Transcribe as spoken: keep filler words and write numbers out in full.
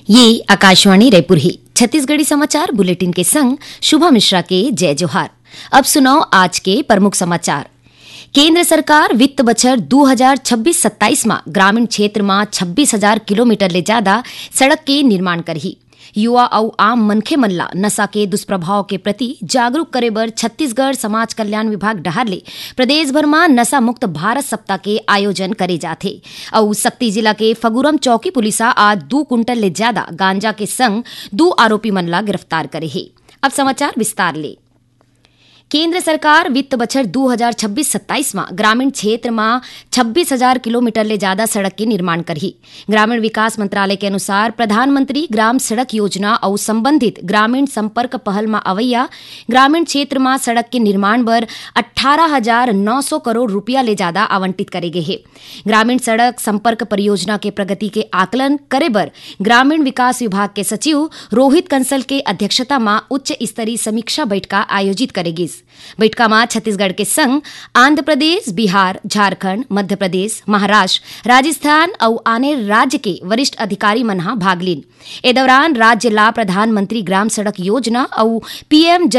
ये आकाशवाणी रायपुर हे। छत्तीसगढ़ी समाचार बुलेटिन के संग शुभा मिश्रा के जय जोहार। अब सुनव आज के प्रमुख समाचार। केंद्र सरकार वित्त बछर दू हजार छब्बीस सत्ताईस म ग्रामीण क्षेत्र म छब्बीस हजार किलोमीटर ले जादा सड़क के निर्माण करही। युवा अउ आम मनखे मन ला नशा के दुष्प्रभाव के प्रति जागरूक करे बर छत्तीसगढ़ समाज कल्याण विभाग डहार ले प्रदेश भर म नशा मुक्त भारत सप्ताह के आयोजन करे जाथे। अउ सक्ती जिला के फगुरम चौकी पुलिस ह आज दू कुंटल ले जादा गांजा के संग दू आरोपी मन ला गिरफ्तार करे हे। अब समाचार विस्तार ले। केंद्र सरकार वित्त बछर दू हजार छब्बीस सत्ताईस म ग्रामीण क्षेत्र म छब्बीस हजार किलोमीटर ले जादा सड़क के निर्माण करही। ग्रामीण विकास मंत्रालय के अनुसार, प्रधानमंत्री ग्राम सड़क योजना अउ संबंधित ग्रामीण संपर्क पहल म अवैया ग्रामीण क्षेत्र म सड़क के निर्माण बर अट्ठारह हजार नौ सौ करोड़ रुपया ले जादा आवंटित करे गे हे। ग्रामीण सड़क संपर्क परियोजना के प्रगति के आकलन करे बर ग्रामीण विकास विभाग के सचिव रोहित कंसल के अध्यक्षता म उच्च स्तरीय समीक्षा बैठका आयोजित करे गिस। बैठका म छत्तीसगढ़ के संग आंध्र प्रदेश, बिहार, झारखंड, मध्य प्रदेश, महाराष्ट्र, राजस्थान अउ आने राज्य के वरिष्ठ अधिकारी मन ह भाग लीन। ए दौरान राज्य ला प्रधानमंत्री ग्राम सड़क योजना अउ पीएम